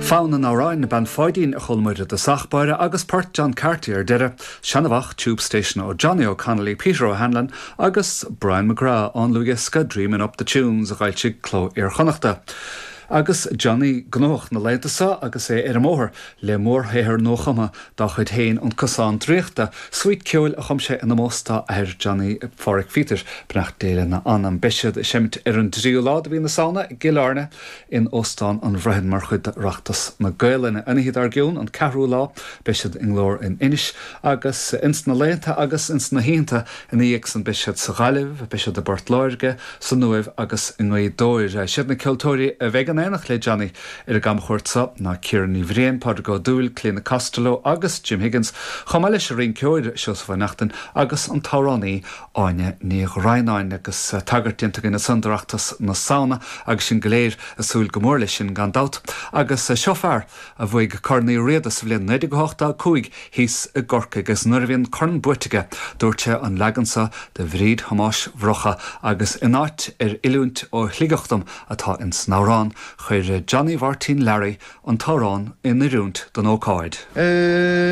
Fonn an amhráin Bean Pháidín a chuala muid i dtosach báire agus port John Carty ar deireadh, Seanamhach Tube Station ó Johnny O'Connolly, Peter O'Hanlon agus Brian McGrath ón ndlúthdhiosca Dreamin' Up the Tunes a d'fhoilsigh Cló Iar-Chonnachta. Agus Johnny gnóthach na laethanta seo agus é ar an mbóthar le mórshaothar nuachumtha dá chuid féin, An Cosán Draíochta, suite ceoil a chum sé in omós dá athair Johnny Pháraic Pheter, beannacht Dé lena anam. Beidh siad ag seimint ar an dtríú lá de mhí na Samhna i gCill Airne in Óstán an Bhroighean mar chuid d'Oireachtas na Gaelainne. An oíche dár gcionn, an ceathrú lá, beidh siad i nGlór in Inis agus ins na laethanta agus ins na hoícheanta ina dhiaidh san beidh siad sa Ghaillimh, beidh siad i bPort Láirge, san Uaimh agus i nGaoth Dobhair. Siad na ceoltóirí a bheidh in éineacht le Johnny ar an gcamchuairt seo ná Ciara Ní Bhriain, Pádraig Ó Dúill, Clíona Costello agus Jim Higgins, chomh maith leis an rinceoir Seosamh Ó Neachtain agus an t-amhránaí Áine Ní Dhroighneáin. Agus tagairt déanta againn ansan d'Oireachtas na Samhna agus sinn go léir ag súil go mór leis sin gan dabht. Agus seo fear a bhuaigh Corn Uí Riada sa bhliain 1985 thíos i gCorcaigh agus nuair a bhí an corn buaite aige dúirt sé an leagan seo de Bhríd Thomáis Mhurchadha agus in áit ar oiliúint ó Shligeach dom atá ins an amhrán, chuir Johnny Mháirtín Learaí an t-amhrán in oiriúint don ócáid.